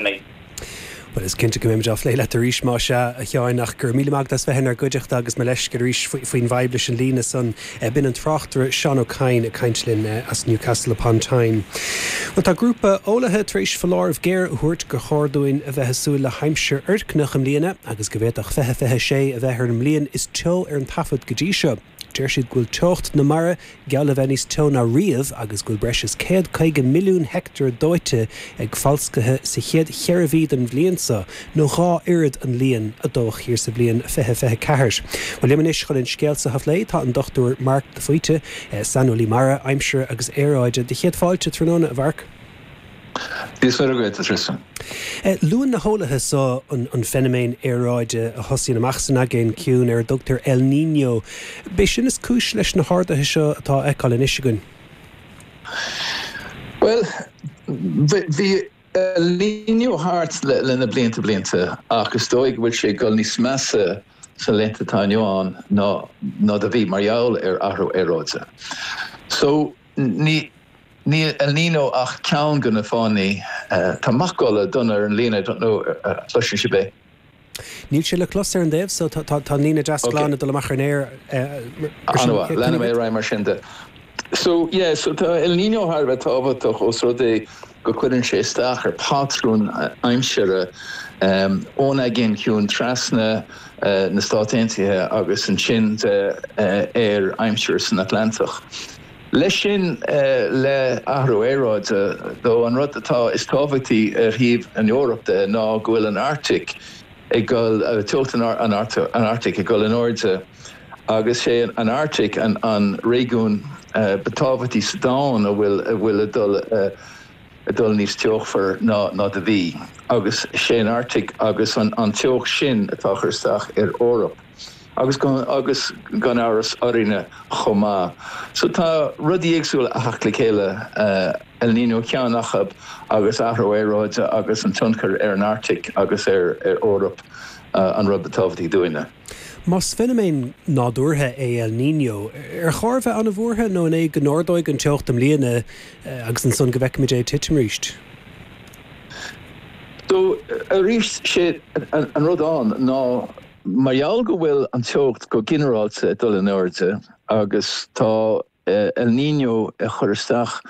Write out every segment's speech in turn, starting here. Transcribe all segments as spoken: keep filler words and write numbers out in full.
mé. Well is cinnte go mbeimid á phlé leat arís más ea a Sheáin ach go raibh míle maith agat as bheith inár gcuideachta agus mo leithscéal arís faoin bhfadhb leis an líne san b'in an tráchtaire Seán Ó Cadhain ag caint linn as Newcastle upon Tyne. Well tá grúpa eolaithe tar éis foláireamh géar a thabhairt gur chóir dúinn a bheith ag súil le haimsir fhoircneach i mbliana agus go bhféadfadh fiche fiche sé a bheith ar an mbliain is teo ar an taifead go dtí seo. Deir siad go bhfuil teocht na mara geall le bheith níos teo ná riamh agus go bhfuil breis is céad caoga milliún heicteár dóite ag falscaithe sa chéad cheithre mhí den bhliain seo, nó dhá oiread an líon a dódh thiar sa bhliain fiche fiche ceathair. Well liom anois chun an scéal seo a phlé tá an Dochtúir Marc de Faoite, saineolaí mara, aimsire agus aeráide do chéad fáilte tráthnóna a Mharc. Is féidir go Tristan. Luann na heolaithe seo an, an feiniméan aeráide a thosaíonn amach san Aigéan Ciúin ar a dtugtar El Niño. B'é sin is cúis leis na harduithe seo atá á fheiceáil anois againn. Well, bhí El Niño thart le, le na blianta blianta ach is dóigh go bhfuil sé ag dul níos measa sa laethanta atá inniu ann ná ná do bhí mar gheall ar athrú aeráide. So ní Ní El Niño ach ceann de na fáthanna tá macalla dona ar an líne I don't know cloiseann sibh é. Níl sé le clos ar an dtaobh so tá an líne deas glan ag dul amach ar an aer Leanfaidh mé ar aghaidh mar sin de. So yeah, so tá El Niño thar a bheith tábhachtach os rud é go cuireann sé isteach ar patrún aimsire um, ón Aigéan Ciúin trasna uh, na Stáit Aontaithe agus ansin de uh, ar aimsir san Atlantach. Leis sin le athrú aeráide dó an rud atá is tábhachtaí ar thaobh an Eoraip de ná go bhfuil an Arctic ag dul teocht an an Arctic ag dul in airde agus sé an Arctic an an réigiún ba tábhachtaí sa domhan a bhfuil a bhfuil ag dul ag dul níos teochmhar ná ná do bhí agus sé an Arctic agus an an teocht sin atá ag cur isteach ar Eoraip. agus gan agus gan amhras orainne chomh maith. So tá rudaí éagsúla ag teacht le chéile uh, El Niño ceann acu agus athrú aeráide agus an tionchar ar an Arctic agus ar ar Eoraip uh, an rud ba tábhachtaí dúinne. Más feiniméan nádúrtha é El Niño, ar chóir bheith an-bhuartha nó an é go n-ardóidh an teocht i mbliana agus ansan go bhfeicfimid é titim arís. So arís sé an, an rud ann ná mar gheall go bhfuil an teocht go ginearálta dul in airde agus tá uh, El Niño ag cur isteach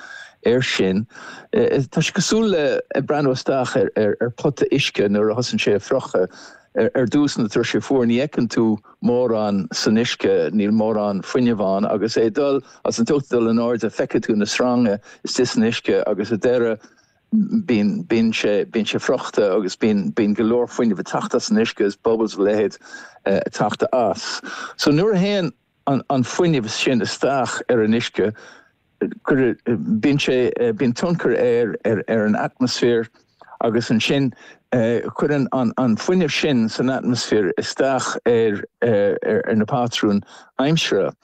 air sin. Uh, tá sé cosúil le ag breathnú isteach ar, ar, ar pota uisce nuair a thosaíonn sé ag friochadh ar, ar dtús nuair atá sé fuar ní fheiceann tú mórán san uisce níl mórán fuinnimh ann agus é dul as an teocht dul in airde feiceann tú na sreanga istigh san uisce agus ar deireadh bíonn bíonn sé bíonn sé friochta agus bíonn bíonn go leor fuinneamh ag teacht as an uisce is bubbles leithéid uh, ag teacht as. So nuair a théann an, an fuinneamh sin isteach ar an uisce bíonn sé bíonn tionchar ar ar ar an atmaisféar agus ansin uh, cuireann an, an fuinneamh sin san atmaisféar isteach ar, ar, ar, ar na patrún aimsire.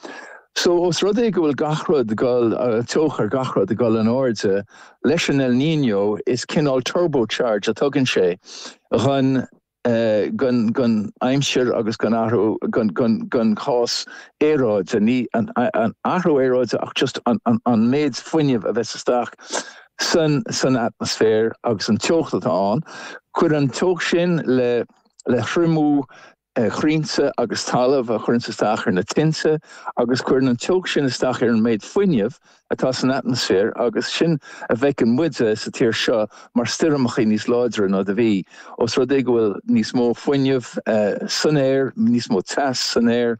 So os rud é go bhfuil gach rud ag dul uh, teocht ar gach rud ag dul in airde leis an El Niño is cineál turbocharge a tugann sé chun uh, gon gon aimsir agus gon athrú gon gon gon chás aeráide ní an, an athrú aeráide ach just an, an, an méid fuinnimh a bheas isteach san san atmaisféar agus an teocht atá ann, cuireann an teocht sin le le thriomú crainnte agus talamh a chuireann isteach ar na tinte agus cuireann an teocht sin isteach ar an méid fuinnimh atá san atmaisféar agus sin a bhfeiceann muide sa tír seo mar stoirmeacha níos láidre ná do bhí. Os rud é go bhfuil níos mó fuinneamh uh, san aer, níos mó teas san aer,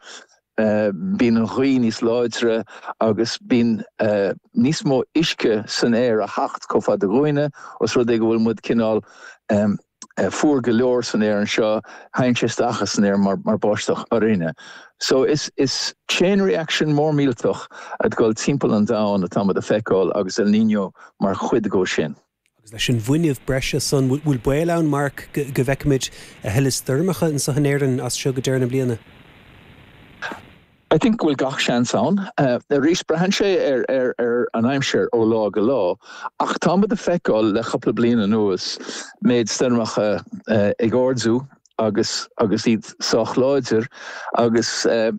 Uh, bíonn an ghaoth níos láidre agus bíonn uh, níos mó uisce san aer a theacht chomh fada dúinne os rud é go bhfuil muid cineál um, uh, fuar go leor san aer anseo théann sé isteach san aer mar, mar báisteach orainne. So is, is chain reaction mór millteach ag dul timpeall an domhain atá muid a feiceáil agus El Niño mar chuid de sin. Agus leis an bhfuinneamh breise san bhfuil baol ann Marc go bhfeicfimid a thuilleadh stoirmeacha anseo in Éirinn as seo go deireadh na bliana. I think bhfuil gach seans ann. Uh, arís braitheann sé ar, ar, ar an aimsir ó lá go lá, ach tá muid ag feiceáil le cúpla bliain anuas méid stoirmeacha uh, ag ardú agus agus iad sách láidir agus uh,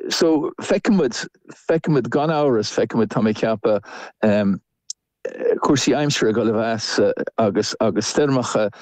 so feicfimid feicfimid gan amhras feicfimid tá mé ag ceapadh um, cúrsaí aimsire ag dul i bhfeabhas agus agus stoirmeacha